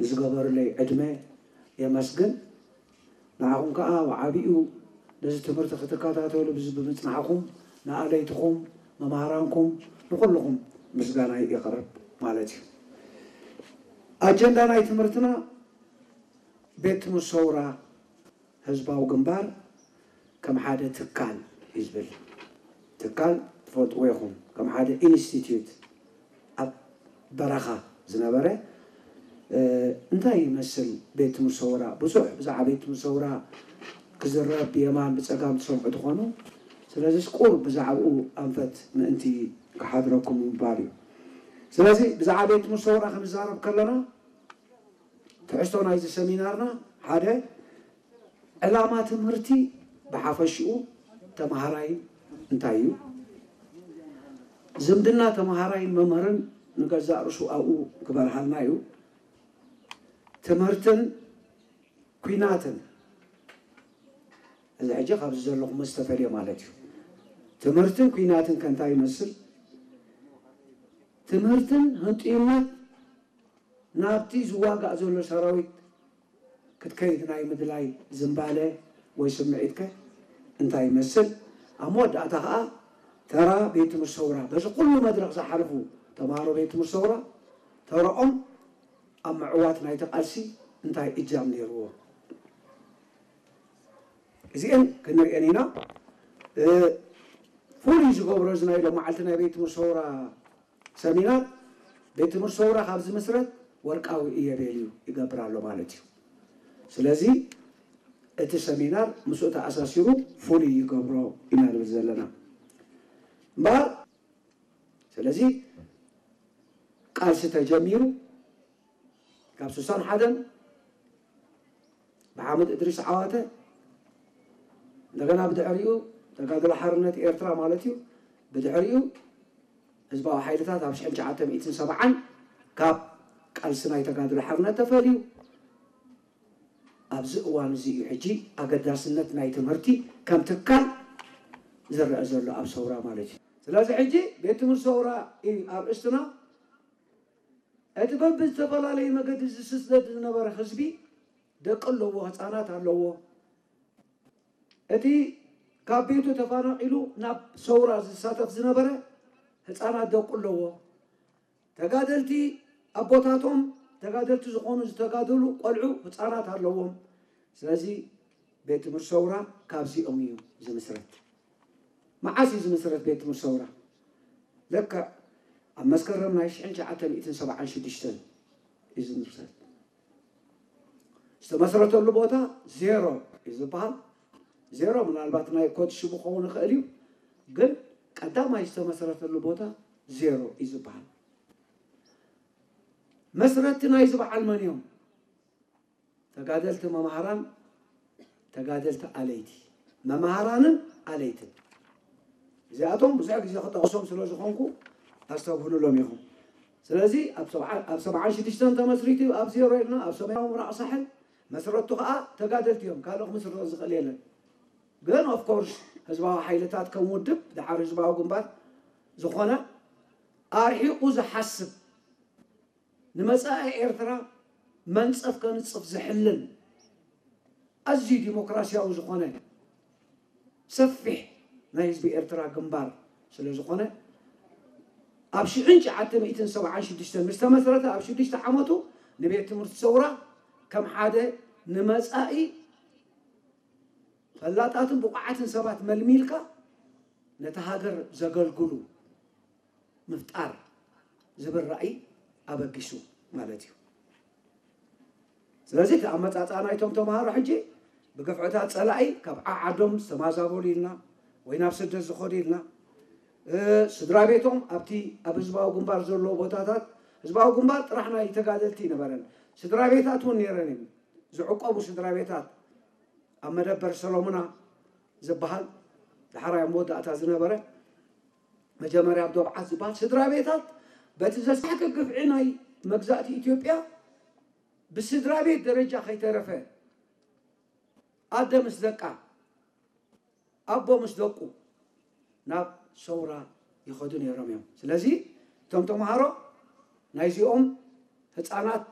ንዝገበሩለይ ዕድመ የመስግን። ንዓኹም ከዓ ብዓቢኡ ነዚ ትምህርቲ ክትከታተሉ ብዚ ብምፅናሕኹም ንኣለይትኹም፣ መምሃራንኩም፣ ንኩልኹም ምስጋናይ የቕርብ ማለት እዩ። ኣጀንዳ ናይ ትምህርትና ቤት ትምህርቲ ሰውራ ህዝባዊ ግንባር ከም ሓደ ትካል እዩ ዝብል። ትካል ትፈልጥዎ ኢኹም፣ ከም ሓደ ኢንስቲትዩት ኣብ በረኻ ዝነበረ እንታይ ይመስል ቤት ትምህርቲ ሰውራ? ብዙሕ ብዛዕባ ቤት ትምህርቲ ሰውራ ክዝረብ ብየማን ብፀጋም ትሰምዑ ትኾኑ። ስለዚስ ቁር ብዛዕባኡ ኣንፈት ምእንቲ ክሓድረኩም ምባል እዩ። ስለዚ ብዛዕባ ቤት ትምህርቲ ሰውራ ክንዛረብ ከለና ትሕዝቶ ናይዚ ሰሚናርና ሓደ ዕላማ ትምህርቲ ብሓፈሽኡ ተምሃራይ እንታይ እዩ? ዝምድና ተምሃራይን መምህርን ንገዛእ ርእሱ ኣብኡ ክበርሃልና እዩ። ትምህርትን ኲናትን፣ እዚ ሕጂ ካብዚ ዘለኹም ዝተፈልየ ማለት እዩ። ትምህርትን ኲናትን ከ እንታይ ይመስል? ትምህርትን ህንጥዩነት ናብቲ ዝዋጋእ ዘሎ ሰራዊት ክትከይድ ናይ ምድላይ ዝንባለ ወይ ስምዒትከ እንታይ ይመስል? ኣብ መወዳእታ ከዓ ተራ ቤት ትምህርቲ ሰውራ፣ በዚ ኩሉ መድረኽ ዝሓለፉ ተምሃሮ ቤት ትምህርቲ ሰውራ ተረኦም ኣብ ምዕዋት ናይቲ ቃልሲ እንታይ እጃም ነይርዎ? እዚአን ክንሪአን ኢና። ፍሉይ ዝገብሮ እዚ ናይ ሎም መዓልቲ ናይ ቤት ትምህርቲ ሰውራ ሰሚናር፣ ቤት ትምህርቲ ሰውራ ካብ ዝምስረት ወርቃዊ እየቤል እዩ ይገብር ኣሎ ማለት እዩ። ስለዚ እቲ ሰሚናር ምስኡ ተኣሳሲሩ ፍሉይ ይገብሮ ኢና ንብል ዘለና እምበኣር። ስለዚ ቃልሲ ተጀሚሩ ካብ ስሳን ሓደን ብሓመድ እድሪስ ዓዋተ፣ እንደገና ብድሕሪኡ ተጋድሎ ሓርነት ኤርትራ ማለት እዩ። ብድሕሪኡ ህዝባዊ ሓይልታት ኣብ ሽሕን ትሽዓተ ሚእትን ሰብዓን ካብ ቃልሲ ናይ ተጋድሎ ሓርነት ተፈልዩ። ኣብዚ እዋን እዚ እዩ ሕጂ ኣገዳስነት ናይ ትምህርቲ ከም ትካል ዝረአ ዘሎ ኣብ ሰውራ ማለት እዩ። ስለዚ ሕጂ ቤት ትምህርቲ ሰውራ እዩ ኣርእስትና። እቲ በብዝተፈላለየ መገዲ ዝስደድ ዝነበረ ህዝቢ ደቂ ኣለዎ፣ ህፃናት ኣለዎ። እቲ ካብ ቤቱ ተፈናቒሉ ናብ ሰውራ ዝሳተፍ ዝነበረ ህፃናት ደቂ ኣለዎ። ተጋደልቲ ኣቦታቶም ተጋደልቲ ዝኾኑ ዝተጋደሉ ቆልዑ ህፃናት ኣለዎም። ስለዚ ቤት ትምህርቲ ሰውራ ካብዚኦም እዩ ዝምስረት። መዓስ እዩ ዝምስረት ቤት ትምህርቲ ሰውራ? ለክዕ ኣብ መስከረም ናይ ሽሕን ትሽዓተ ሚእትን ሰብዓን ሽዱሽተን እዩ ዝምስረት። ዝተመስረተሉ ቦታ ዜሮ እዩ ዝበሃል። ዜሮ ምናልባት ናይ ኮድ ሽሙ ክኸውን ይኽእል እዩ፣ ግን ቀዳማይ ዝተመስረተሉ ቦታ ዜሮ እዩ ዝበሃል። መስረትቲ ናይዚ በዓል መን እዮም? ተጋደልቲ መማህራን፣ ተጋደልቲ ኣለይቲ፣ መማህራንን ኣለይትን። እዚኣቶም ብዙሕ ግዜ ክጠቕሶም ስለ ዝኾንኩ ኣስተብህሉሎም ኢኹም። ስለዚ ኣብ ሰብዓ- ኣብ ሰብዓን ሽዱሽተን ተመስሪቱ ኣብ ዜሮ ኢልና ኣብ ሰሜናዊ ምብራቕ ሳሕል መስረቱ ከዓ ተጋደልቲ እዮም። ካልእ ክምስርቶ ዝኽእል የለን። ግን ኦፍኮርስ ህዝባዊ ሓይልታት ከም ውድብ ደሓር ህዝባዊ ግንባር ዝኾነ ኣርሒቑ ዝሓስብ ንመጻኢ ኤርትራ መንጸፍ ከንጽፍ ዝሕልን ኣዝዩ ዲሞክራሲያዊ ዝኾነ ሰፊሕ ናይ ህዝቢ ኤርትራ ግንባር ስለ ዝኾነ ኣብ ሽሕን ትሽዓተ ሚእትን ሰብዓን ሽዱሽተን ምስ ተመስረተ ኣብ ሽዱሽተ ዓመቱ ንቤት ትምህርቲ ሰውራ ከም ሓደ ንመጻኢ ፈላጣትን ብቑዓትን ሰባት መልሚልካ ነታ ሃገር ዘገልግሉ ምፍጣር ዝብል ራእይ ኣበጊሱ ማለት እዩ። ስለዚ እቲ ኣመፃፅኣ ናይቶም ተምሃሮ ሕጂ ብግፍዕታት ፀላኢ ካብ ዓዓዶም ዝተማዛበሉ ኢልና ወይ ናብ ስደት ዝኸዱ ኢልና፣ ስድራ ቤቶም ኣብቲ ኣብ ህዝባዊ ግንባር ዘለዎ ቦታታት፣ ህዝባዊ ግንባር ጥራሕ ናይ ተጋደልቲ ይነበረን፣ ስድራ ቤታት እውን ነይረን እዩ። ዝዕቆቡ ስድራ ቤታት ኣብ መደበር ሰሎሙና ዝበሃል ዳሕራይ ኣብ መወዳእታ ዝነበረ መጀመርያ ኣብ ዶብዓት ዝበሃል ስድራ ቤታት በቲ ዘስካሕክሕ ግፍዒ ናይ መግዛእቲ ኢትዮጵያ ብስድራ ቤት ደረጃ ከይተረፈ ኣደ ምስ ደቃ፣ ኣቦ ምስ ደቁ ናብ ሰውራ ይኸዱ ነይሮም እዮም። ስለዚ እቶም ተምሃሮ ናይዚኦም ህፃናት